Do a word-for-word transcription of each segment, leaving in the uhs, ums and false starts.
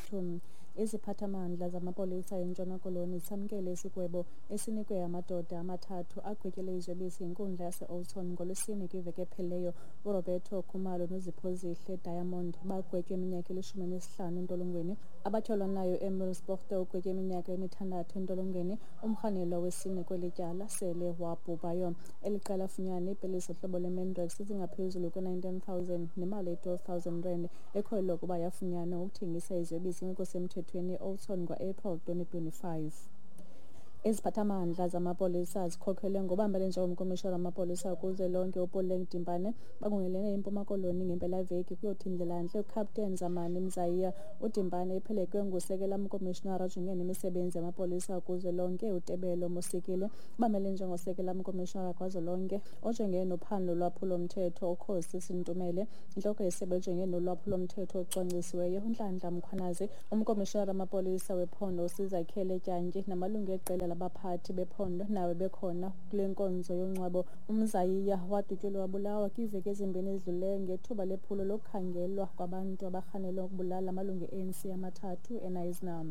twenty twenty-two. Iziphathamandla zamapolisa eNtshona Koloni samkele isigwebo esinikwe amadoda amathathu agwetyelwe iziyobisi yinkundla yase-Oudtshoorn ngoLwesine kwiveki ephelileyo. URoberto Khumalo noZiphozihle Diamond bagwetywe iminyaka elishumi elinesihlanu entolongweni. Abatyholwa nayo Emil Sporte ugwetywe iminyaka emithandathu entolongweni. Umrhanelwa wesine kweli tyala sele wabhubhayo. Eli qela lafunyanwa iipilisi zohlobo lweMandrax ezingaphezulu kwe-nineteen thousand nemali eyi-twelve thousand rand ekholelwa ukuba yafunyanwa ukuthengisa iziyobisi ngekho semthethweni e-Oudtshoorn ngo-April twenty twenty-five. Iziphathamandla zamapolisa zikhokhelwe ngobambele njengomkomishona wamapolisa kuzwelonke uPuleng Dimpane bangungelene eMpuma Koloni ngempelaveki kuyothi ndlelantle uCaptain Zamani Mzayiya. UDimpane ephelekwe ngusekela mkomishinara ojongene nemisebenzi yamapolisa kuzwelonke uTebello Molsekile, bamele njengosekela mkomishinara kazwelonke ojongene nophando lolwaphulomthetho uKgosi Senthumele, intloko yesebe ejongene nolwaphulomthetho ocwangcisiweyo uNhlanhla Mkhwanazi, umkomishinara wamapolisa wephondo uSizakhele Dyantyi namalungu eqela labaphathi bephondo nawe bekhona kule nkonzo yongcwabo. UMzayiya wadutyulwa wabulawa kwiiveki ezimbini ezidlulileyo ngethuba lephulo lokukhangelwa kwabantu abarhanelwa ukubulala amalungu e-A N C amathathu eKnysna.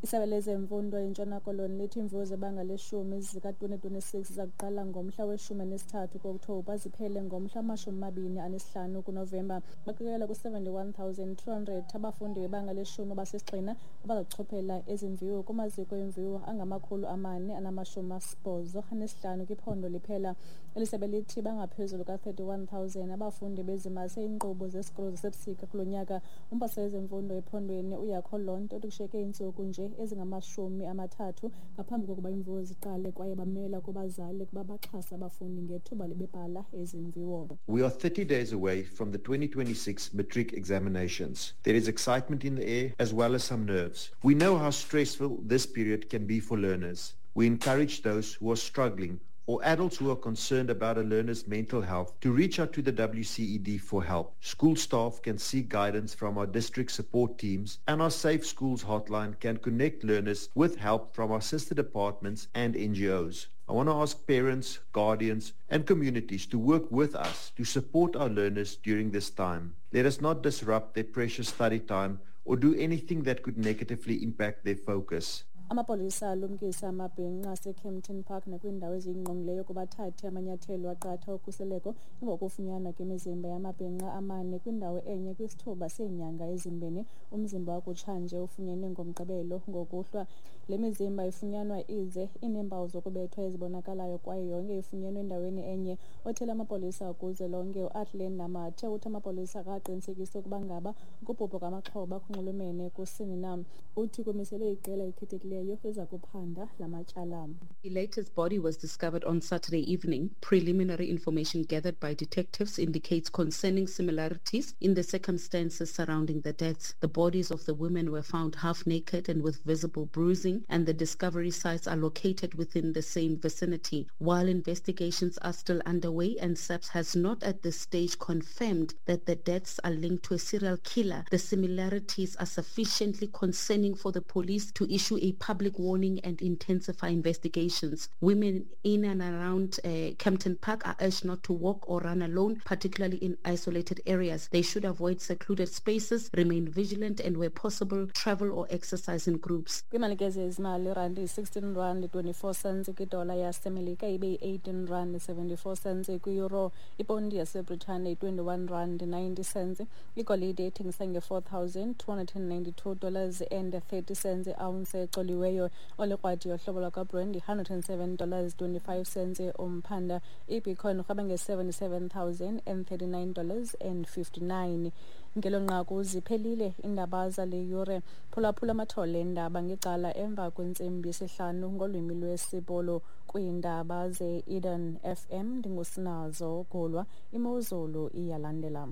Isebe lezemfundo eNtshona Koloni lithi iimviwo zebanga leshumi zika-twenty twenty-six ziza kuqala ngomhla weshumi anesithathu kuOkthobha ziphele ngomhla wamashumi amabini anesihlanu kuNovemba. Baqikelela ku-seventy-one thousand two hundred abafundi bebanga leshumi abasisigxina abazakuchophela ezi mviwo kumaziko emviwo angamakhulu amane anamashumi asibhozo anesihlanu kwiphondo liphela. Eli sebe lithi bangaphezulu ka-thirty-one thousand abafundi bezimase iinkqubo zesikolo zasebusika kulo nyaka. Umphathiswa wezemfundo ephondweni uYakho Londt uthi kushiyeke iintsuku nje ezingamashumi amathathu ngaphambi kokuba iimviwo ziqale kwaye bamela kubazali ukuba baxhase abafundi ngethuba bebhala ezi mviwo. We are thirty days away from the twenty twenty-six matric examinations. There is excitement in the air as well as some nerves. We know how stressful this period can be for learners. We encourage those who are struggling or adults who are concerned about a learner's mental health to reach out to the W C E D for help. School staff can seek guidance from our district support teams, and our Safe Schools hotline can connect learners with help from our sister departments and N G Os. I want to ask parents, guardians, and communities to work with us to support our learners during this time. Let us not disrupt their precious study time or do anything that could negatively impact their focus. Amapolisa alumkisa amabhinqa aseKempton Park nakwiindawo eziyingqongileyo ukuba athathe amanyathelo aqatha okhuseleko emva kokufunyanwa kwemizimba yamabhinqa amane kwindawo enye kwisithuba seenyanga ezimbini. Umzimba wakutshanje ufunyenwe ngoMgqibelo ngokuhlwa. Le mizimba ifunyanwa ize ineempawu zokubethwa ezibonakalayo kwaye yonke ifunyenwe endaweni enye. Othethela amapolisa kuzwelonke uAthlene Namathe uthi amapolisa akaqinisekisi ukuba ngaba ukubhubha kwamaxhoba kunxulumene kusini na. Uthi kumiselwe iqela elikhethekileyo liza kuphanda la matyala. The latest body was discovered on Saturday evening. Preliminary information gathered by detectives indicates concerning similarities in the circumstances surrounding the deaths. The bodies of the women were found half naked and with visible bruising, and the discovery sites are located within the same vicinity. While investigations are still underway and S A P S has not at this stage confirmed that the deaths are linked to a serial killer, the similarities are sufficiently concerning for the police to issue a public warning and intensify investigations. Women in and around uh, Kempton Park are urged not to walk or run alone, particularly in isolated areas. They should avoid secluded spaces, remain vigilant, and where possible, travel or exercise in groups. Kwiimali zezimali, irandi yi-sixteen rand twenty-four cents kwidola yaseMelika, ibe yi-eighteen rand seventy-four cents kwi-euro, iponti yaseBritane yi-twenty-one rand ninety cents. Igolide ithengisa nge-four thousand two hundred and ninety-two dollars and thirty cents i-ounce ecoliweyo. Olikrwadi yohlobo lwakwaBrent yi-hundred and seven dollars twenty-five cents umphanda. Ibitcoin irhweba nge-seventy-seven thousand and thirty-nine dollars and fifty-nine. Ngelo nqaku ziphelile iindaba zale yure. Phulaphula amathole eendaba ngecala emva kwentsimbi yesihlanu ngolwimi lwesiBhulu kwiindaba ze-Eden F M. Ndingusinazo Gulwa. Imozulu iyalandela.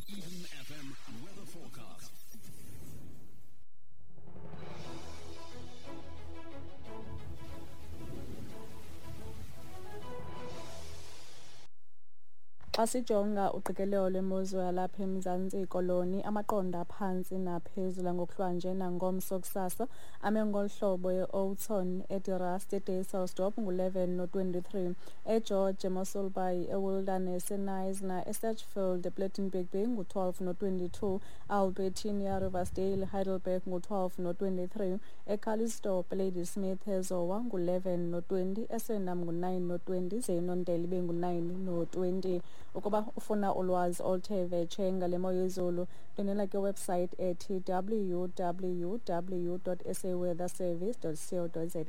Eden F M weather forecast. Xa sijonga uqikelelo lwemozulu yalapha eMzantsi Koloni, amaqondo aphantsi naphezulu ngokuhlwanje nangomso kusasa ame ngolu hlobo: e-Oudtshoorn, eDe Rust, eDysselsdorp ngu-eleven no-twenty-three, eGeorge, eMossel Bay, eWilderness, eKnysna, eSedgefield, ePlettenberg Bay ngu-twelve no-twenty-two, Albertina, Riversdale, Heidelberg ngu-twelve no-twenty-three, eCalitzdorp, Ladysmith, eZowa ngu-eleven no-twenty, eSwellnum ngu-nine no-twenty, ze iNondele ibe ngu-nine no-twenty. Ukuba ufuna ulwazi oluthe vetshe ngale mo yezulu, ndwendwela kwiwebsite ethi w w w dot s a weather service dot co dot za.